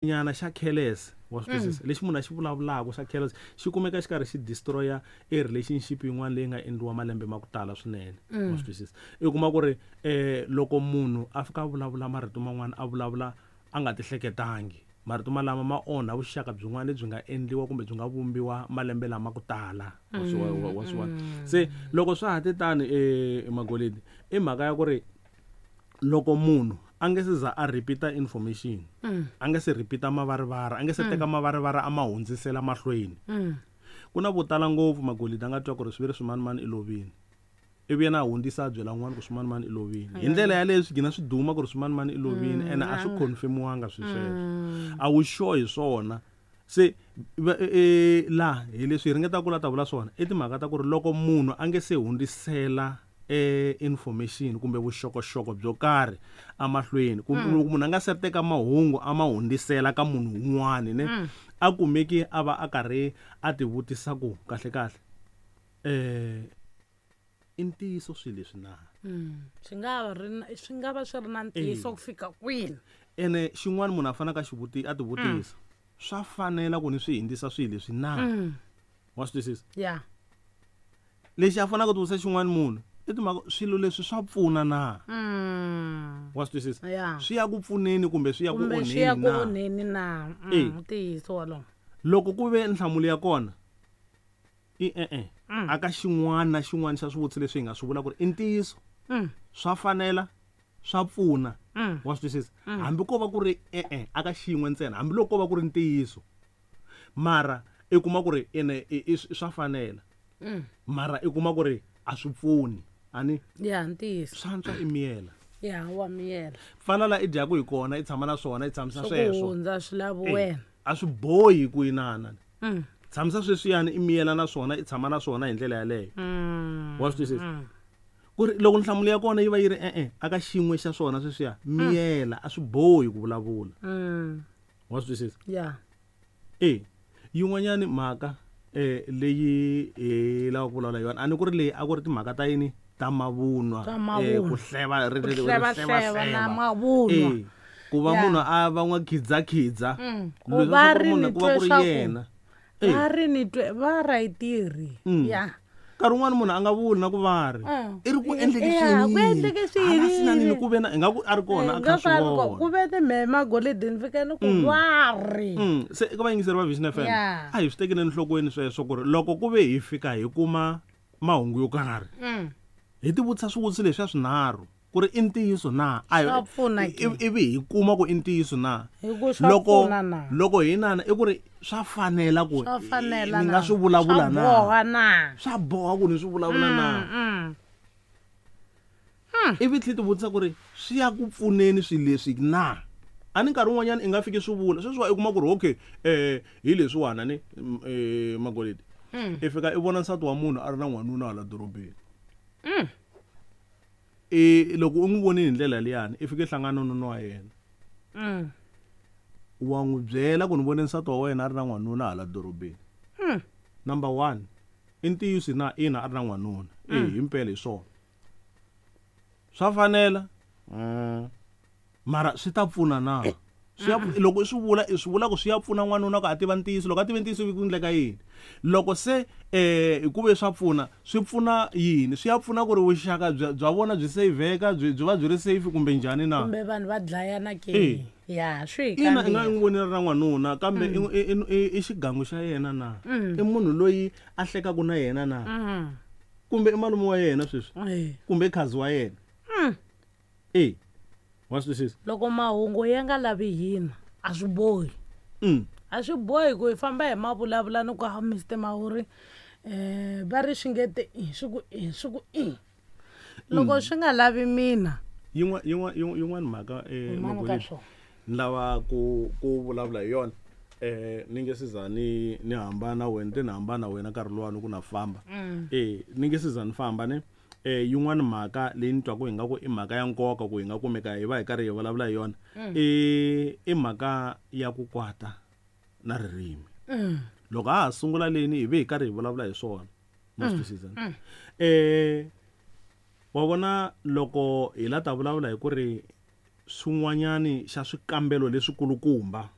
Nyana xa careless, wa swi twisisa? Lexi munhu a xi vulavulaka xa careless xi kumeka xi karhi xi destroy-a e relationship yin'wana leyi nga endliwa malembe ma ku tala swinene, wa swi twisisa? I kuma ku ri loko munhu a fika a vulavula marito man'wana a vulavula a nga ti hleketangi, marito malama ma onha vuxaka byin'wana lebyi nga endliwa kumbe byi nga vumbiwa malembe lama ku tala, wa swi wa swi vona? Se loko swa ha te tani Magolidi, i mhaka ya ku ri loko munhu a nge se za a repeat-a information, a nge se repeat-a mavarivari, a nge se teka mavarivari a ma hundzisela mahlweni. Ku na vo tala ngopfu Magolidi a nga twa ku ri swi ve ri swimanimani i lovile, ivi yena a hundzisa a byela un'wana ku swimanimani i lovile. Hi ndlela yaleyo swi gina swi duma ku ri swimanimani i lovile, ene a swi confirm-iwanga swilo sweswo, a wu sure hi swona. Se laha hi leswi hi ringetaka ku la ta vula swona i timhaka ta ku ri loko munhu a nge se hundzisela information kumbe vuxokoxoko byo karhi emahlweni, kumbe loko munhu a nga se teka mahungu a ma hundzisela ka munhu un'wana, ne a kumeki a va a karhi a ti vutisa ku kahle kahle i ntiyiso swilo leswi na? Swi nga va ri na, swi nga va swi ri na ntiyiso ku fika kwini? Ene xin'wana munhu a faneleke a xi a ti vutisa, swa fanela ku ni swi hundzisa swilo leswi na? Wa swi twisisa? Lexi a faneleke ku ti vutisa xin'wana munhu i timhaka swilo leswi swa pfuna na? Wa swi twisisa? Swi ya ku pfuneni kumbe swi ya ku Kumbe swi ya onheni ku na? onheni na? Ntiyiso wolowo. Loko ku ve nhlamulo ya kona i e-e, aka xin'wana na xin'wana xa swivutiso leswi hi nga swi vula ku ri i ntiyiso, swa fanela, swa pfuna. Wa swi twisisa? Hambi ko va ku ri e-e, aka xin'we ntsena, hambi loko ko va ku ri ntiyiso, mara i kuma ku ri ene i swa fanela, mara i kuma ku ri a swi pfuni. Ani? Ya, ntiyiso. Swa antswa i miyela. Ya, wa miyela. Fana la i dyaku hi kona, i tshama na swona, i tshamisa Swi ku sweswo. hundza swi lavi wena. A swi bohi ku inana. Tshamisa sweswiyani, i miyela na swona, i tshama na swona hi ndlela yaleyo. Wa swi twisisa? Ku ri loko nhlamulo ya kona yi va yi ri e-e, aka xin'we xa swona sweswiya, miyela, a swi bohi ku vulavula. Wa swi twisisa? Yin'wanyani mhaka leyi hi lavaka ku vulavula hi yona, a ni ku ri leyi a ku ri timhaka ta yini? Ta mavunwa. Ta mavunwa. Ku hleva, ri, Ku ri, ri, hleva, hleva, hleva na hleva. mavunwa. Ku va munhu a va n'wa khidzhakhidza. Ku Leswi va swa ku ri munhu ni ku va ku ri twe swa ku yena. Va ri ni twe, va ra yi tirhi. Nkarhi wun'wani munhu a nga vuli na ku va ri. I ri ku endleke Ku swiyini. endleke Hala swiyini. swi na nini ku ve na, ingaku a ri kona, a kha Nga swi ka ri vona. ku ve ni mhe magolidini ni fike ni ku va ri. Se eka vayingiseri va Vision FM, a hi swi tekeli enhlokweni sweswo ku ri loko ku ve hi fika hi kuma mahungu yo karhi, hi ti vutisa swivutiso leswiya swinharhu ku ri i ntiyiso na? A hi Swa pfuna ke. ivi hi kuma ku i ntiyiso na? Hi ku swa Loko pfuna na? loko hi nana i ku ri swa fanela ku Swa fanela ni nga na? swi vulavula Swa na? boha na? Swa boha ku ni swi vulavula na? Ivi tlhe ti vutisa ku ri swi ya ku pfuneni swilo leswi na? A ni nkarhi wun'wanyana i nga fiki swi vula. Sweswiwa i kuma ku ri okay, hi leswiwana ni, Magolidi. I fika i vona nsati wa munhu a ri na n'wanuna hala dorobeni. Loko u n'wi vonile hi ndlela liyani, i fike hlangana na nuna wa yena. Wa n'wi byela ku ni vone nsati wa wena a ri na n'wanuna hala dorobeni. Number 1, i ntiyiso na ina a ri na n'wanuna. Himpela hi swona. Swa fanela? Mara swi ta pfuna na? Swi ya loko i swi vula, i swi vula ku swi ya pfuna n'wanuna ku a tiva ntiyiso. Loko a tiva ntiyiso ku endleka yini? Loko se ku ve swa pfuna, swi pfuna yini? Swi ya pfuna ku ri vuxaka bya vona byi saveka, byi va byi ri safe kumbe njhani na? Kumbe vanhu va dlayana ke? Ya, swi hi Ina, i nga kambirhi. n'wi vonile ra n'wanuna, kambe i xigangu xa yena na? I munhu loyi a hlekaka na yena na? Kumbe i malume wa yena sweswi? Kumbe i khazi wa yena? Wa swi twisisa? Loko mahungu ya nga lavi hina, a swi bohi. A swi bohi ku hi famba hi mavulavula ni ku, ha, Mister Mawuri, va ri swi nge te i, swi ku i, swi ku i. Loko swi nga lavi mina. Yin'wana mhaka, Yin'wana ka Magolidi, swona. ni lava ku vulavula hi yona. Ni nge se za ni hambana wena, te ni hambana wena nkarhi luwani ku na famba. Ni nge se za ni famba ne. Yin'wana mhaka leyi ni twaku ingaku i mhaka ya nkoka ku hi nga kumeka hi va hi karhi hi vulavula hi yona, i mhaka ya ku kwata na ririmi. Loko ha ha sungula leni hi ve hi karhi hi vulavula hi swona. Ma swi twisisa? Wa vona loko hi la ta vulavula hi ku ri swin'wanyani xa swikambelo leswikulukumba.